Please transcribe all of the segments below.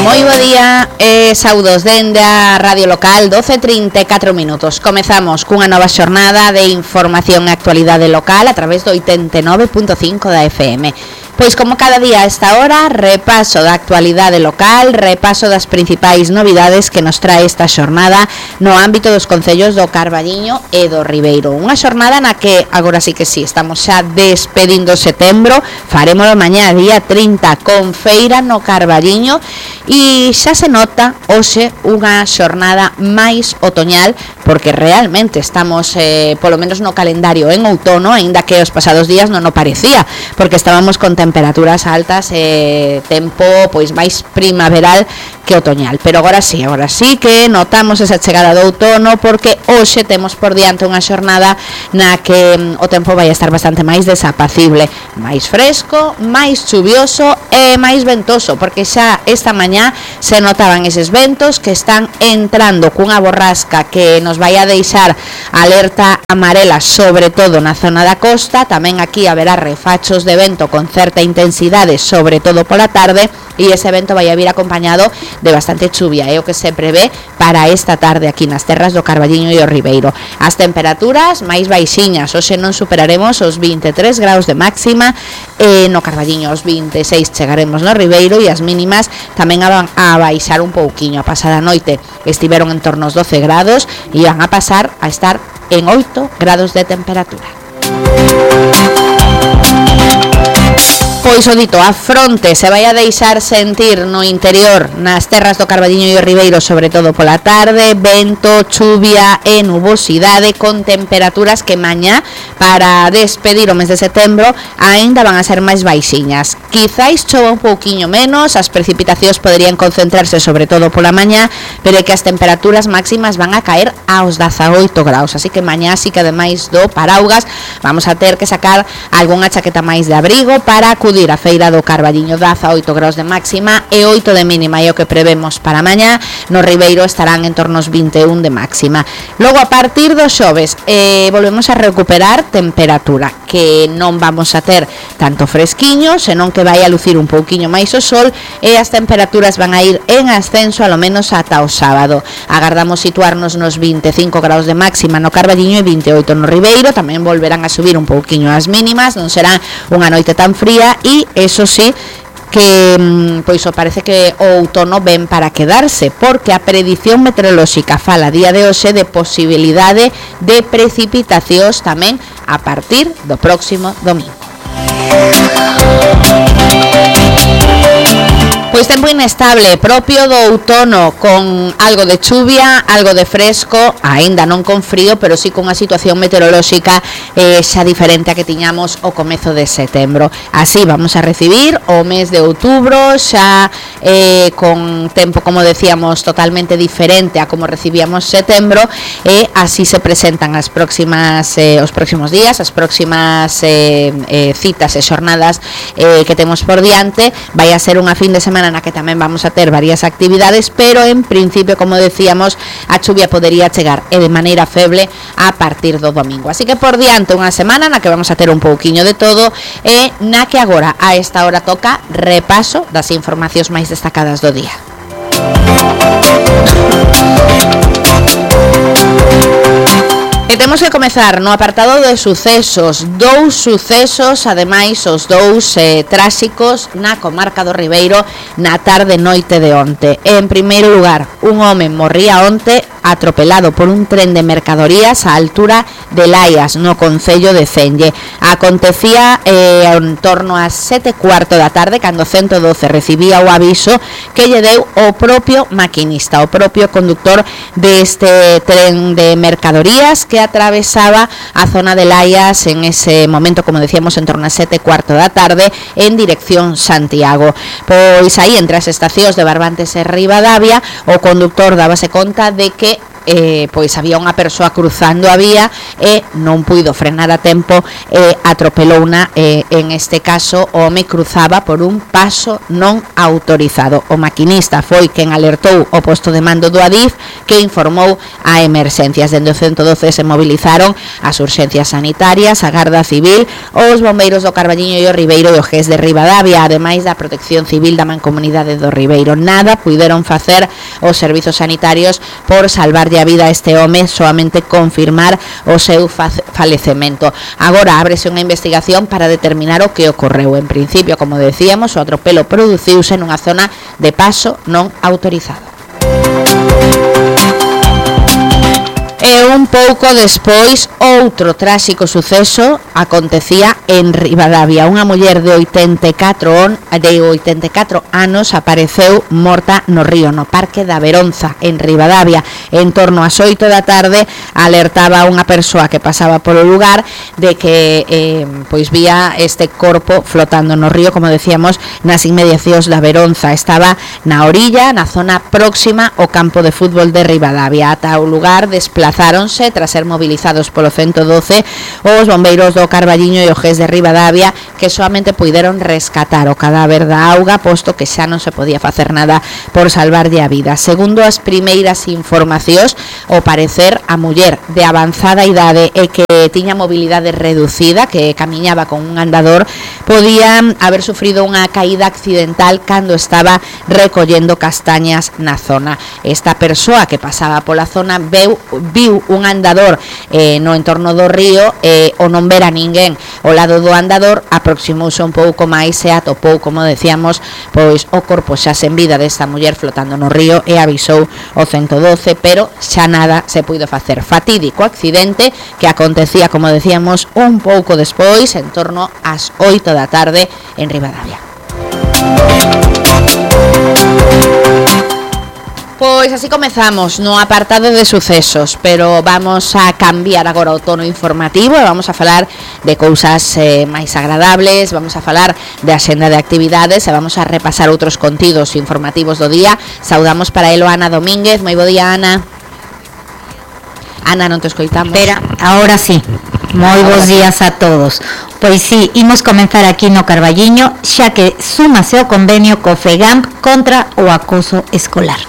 Moi bo día e saudos dende a Radio Local 12:34 minutos. Comezamos cunha nova xornada de información e actualidade local a través do 89.5 da FM. Pois como cada día a esta hora, repaso da actualidade local, repaso das principais novidades que nos trae esta xornada no ámbito dos concellos do Carballiño e do Ribeiro. Unha xornada na que, agora sí que sí, estamos xa despedindo setembro, farémolo mañá día 30 con feira no Carballiño e xa se nota hoxe unha xornada máis otoñal porque realmente estamos, polo menos no calendario, en outono, aínda que os pasados días non o parecía, porque estábamos con temperaturas altas e tempo pois máis primaveral que otoñal, pero agora sí que notamos esa chegada do outono porque hoxe temos por diante unha xornada na que o tempo vai estar bastante máis desapacible, máis fresco, máis chuvioso e máis ventoso, porque xa esta mañá se notaban eses ventos que están entrando cunha borrasca que nos vai a deixar alerta amarela, sobre todo na zona da costa. Tamén aquí haberá refachos de vento con certa intensidade, sobre todo pola tarde, e ese vento vai a vir acompañado de bastante chuvia, é o que se prevé para esta tarde aquí nas terras do Carballiño e o Ribeiro. As temperaturas máis baixiñas, hoxe non superaremos os 23 graus de máxima, no Carballiño os 26 chegaremos no Ribeiro, e as mínimas tamén van a baixar un pouquiño. A pasada noite estiveron en torno aos 12 grados e van a pasar a estar en 8 grados de temperatura. Pois o dito, a fronte se vai a deixar sentir no interior, nas terras do Carballiño e o Ribeiro, sobre todo pola tarde, vento, chuvia e nubosidade, con temperaturas que mañá, para despedir o mes de setembro, aínda van a ser máis baixiñas. Quizáis chova un pouquiño menos, as precipitacións poderían concentrarse sobre todo pola mañá, pero é que as temperaturas máximas van a caer aos 18 graus, así que mañá sí que ademais do paraugas vamos a ter que sacar algunha chaqueta máis de abrigo para acudir a feira do Carballiño. 18 graus de máxima e 8 de mínima é o que prevemos para mañá. No Ribeiro estarán en torno aos 21 de máxima. Logo, a partir do xoves volvemos a recuperar temperatura, que non vamos a ter tanto fresquiño, senón que vai a lucir un pouquiño máis o sol, e as temperaturas van a ir en ascenso alo menos ata o sábado. Agardamos situarnos nos 25 graus de máxima no Carballiño e 28 no Ribeiro. Tamén volverán a subir un pouquiño as mínimas, non será unha noite tan fría, e eso sí que pois parece que o outono ven para quedarse, porque a predición meteorolóxica fala día de hoxe de posibilidade de precipitacións tamén a partir do próximo domingo. Pois tempo inestable, propio do outono, con algo de chuvia, algo de fresco, aínda non con frío, pero sí con unha situación meteorolóxica xa diferente a que tiñamos o comezo de setembro. Así vamos a recibir o mes de outubro, xa con tempo, como decíamos, totalmente diferente a como recibíamos setembro, e así se presentan as próximas os próximos días, as próximas citas e xornadas que temos por diante. Vai a ser unha fin de semana na que tamén vamos a ter varias actividades, pero en principio, como decíamos, a chuvia podería chegar e de maneira feble a partir do domingo. Así que por diante unha semana na que vamos a ter un pouquiño de todo, e na que agora a esta hora toca repaso das informacións máis destacadas do día. E temos que comezar no apartado de sucesos. Dous sucesos, ademais os dous tráxicos na comarca do Ribeiro na tarde noite de onte. En primeiro lugar, un home morría onte atropelado por un tren de mercadorías á altura de Laias, no concello de Celle. Acontecía en torno ás 7:15 da tarde, cando 112 recibía o aviso que lle deu o propio maquinista, o propio conductor deste tren de mercadorías que atravesaba a zona de Laias en ese momento, como decíamos, en torno ás 7:15 da tarde, en dirección Santiago. Pois aí, entre as estacións de Barbantes e Ribadavia, o conductor dábase conta de que pois había unha persoa cruzando a vía e non puido frenar a tempo e atropelouna. En este caso o home cruzaba por un paso non autorizado. O maquinista foi quen alertou o posto de mando do Adif, que informou a emerxencias. Dende o 112 se movilizaron as urxencias sanitarias, a Garda Civil, os bombeiros do Carballiño e o Ribeiro e o GES de Ribadavia, ademais da Protección Civil da Mancomunidade do Ribeiro. Nada puideron facer os servizos sanitarios por salvarlle a vida a este home, soamente confirmar o seu falecemento. Agora ábrese unha investigación para determinar o que ocorreu. En principio, como decíamos, o atropelo produciuse nunha zona de paso non autorizado. E un pouco despois, outro tráxico suceso acontecía en Ribadavia. Unha muller de 84 anos apareceu morta no río, no Parque da Veronza, en Ribadavia. En torno ás 8 da tarde alertaba unha persoa que pasaba polo lugar de que pois vía este corpo flotando no río, como decíamos, nas inmediacións da Veronza. Estaba na orilla, na zona próxima ao campo de fútbol de Ribadavia. Ata o lugar desplazáronse tras ser movilizados polo 112 os bombeiros do Carballiño e o GES de Ribadavia, que solamente puideron rescatar o cadáver da auga, posto que xa non se podía facer nada por salvarlle a vida. Segundo as primeiras informacións, ao parecer a muller de avanzada idade e que tiña mobilidade reducida, que camiñaba con un andador, podía haber sufrido unha caída accidental cando estaba recollendo castañas na zona. Esta persoa que pasaba pola zona viu un andador no entorno do río e ao non ver a ninguén ao lado do andador aproximouse un pouco máis e atopou, como decíamos, pois o corpo xa sen vida desta muller flotando no río e avisou o 112, pero xa nada se puido facer. Fatídico accidente que acontecía, como decíamos, un pouco despois, en torno ás 8 da tarde en Ribadavia. Pois así comezamos no apartado de sucesos, pero vamos a cambiar agora o tono informativo e vamos a falar de cousas máis agradables, vamos a falar de axenda de actividades e vamos a repasar outros contidos informativos do día. Saudamos para elo a Ana Domínguez. Moi bo día, Ana. Ana, non te escoitamos. Espera, ahora sí. Moi bons días a todos. Pois sí, imos comenzar aquí no Carballiño, xa que súmase o convenio co FEGAMP contra o acoso escolar.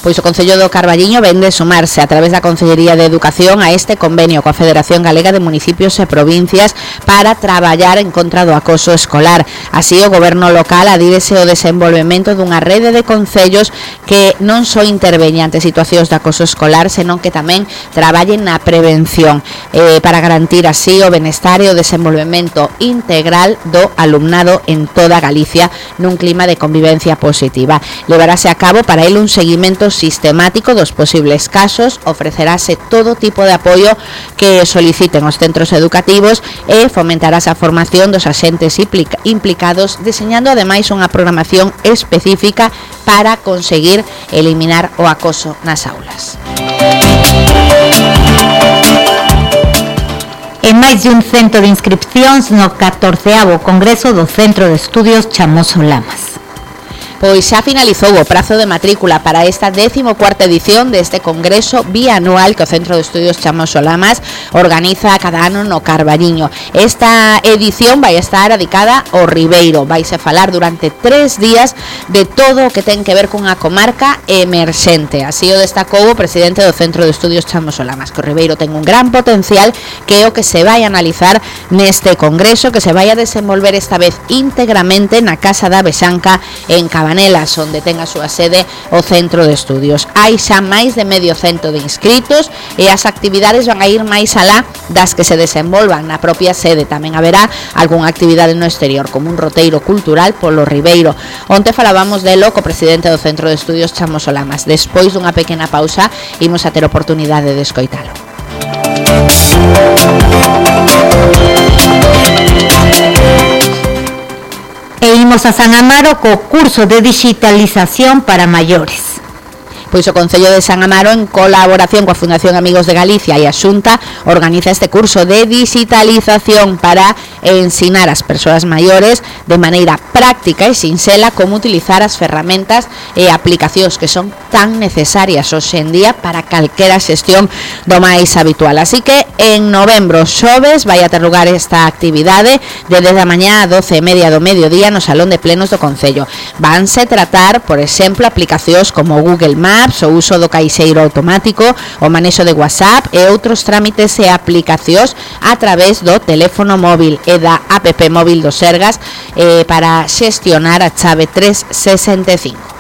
Pois o Concello do Carballiño vende sumarse a través da Consellería de Educación a este convenio coa Federación Galega de Municipios e Provincias para traballar en contra do acoso escolar. Así, o Goberno local adírese ao desenvolvemento dunha rede de concellos que non só interveñen ante situacións de acoso escolar, senón que tamén traballen na prevención para garantir así o benestar e o desenvolvemento integral do alumnado en toda Galicia nun clima de convivencia positiva. Levarase a cabo para ele un seguimento sistemático dos posibles casos, ofrecerase todo tipo de apoio que soliciten os centros educativos e fomentarase a formación dos axentes implicados, deseñando ademais unha programación específica para conseguir eliminar o acoso nas aulas. En máis de un cento de inscripcións no 14º Congreso do Centro de Estudios Chamoso Lamas. Pois xa finalizou o prazo de matrícula para esta 14ª edición deste congreso bianual que o Centro de Estudios Chamoso Lamas organiza cada ano no Carballiño. Esta edición vai estar dedicada ao Ribeiro. Vaise falar durante 3 días de todo o que ten que ver cunha comarca emerxente. Así o destacou o presidente do Centro de Estudios Chamoso Lamas, que o Ribeiro ten un gran potencial, que é o que se vai analizar neste congreso, que se vai a desenvolver esta vez íntegramente na Casa da Bexanca en Cabanelas, onde ten a súa sede o Centro de Estudios. Hai xa máis de medio cento de inscritos e as actividades van a ir máis alá das que se desenvolvan na propia sede. Tamén haberá algunha actividade no exterior, como un roteiro cultural polo Ribeiro. Onte falábamos delo co presidente do Centro de Estudios Chamoso Lamas. Despois dunha pequena pausa, imos a ter oportunidade de escoitalo. E imos a San Amaro co curso de digitalización para maiores. Pois o Concello de San Amaro, en colaboración coa Fundación Amigos de Galicia e a Xunta, organiza este curso de digitalización para ensinar ás persoas maiores de maneira práctica e sinxela como utilizar as ferramentas e aplicacións que son tan necesarias hoxe en día para calquera xestión do máis habitual. Así que en novembro, xoves, vai a ter lugar esta actividade de 10 da mañá a 12:30 do mediodía no Salón de Plenos do Concello. Vanse tratar, por exemplo, aplicacións como Google Maps, o uso do caixeiro automático, o manexo de WhatsApp e outros trámites e aplicacións a través do teléfono móvil e da app móvil do Sergas para xestionar a chave 365.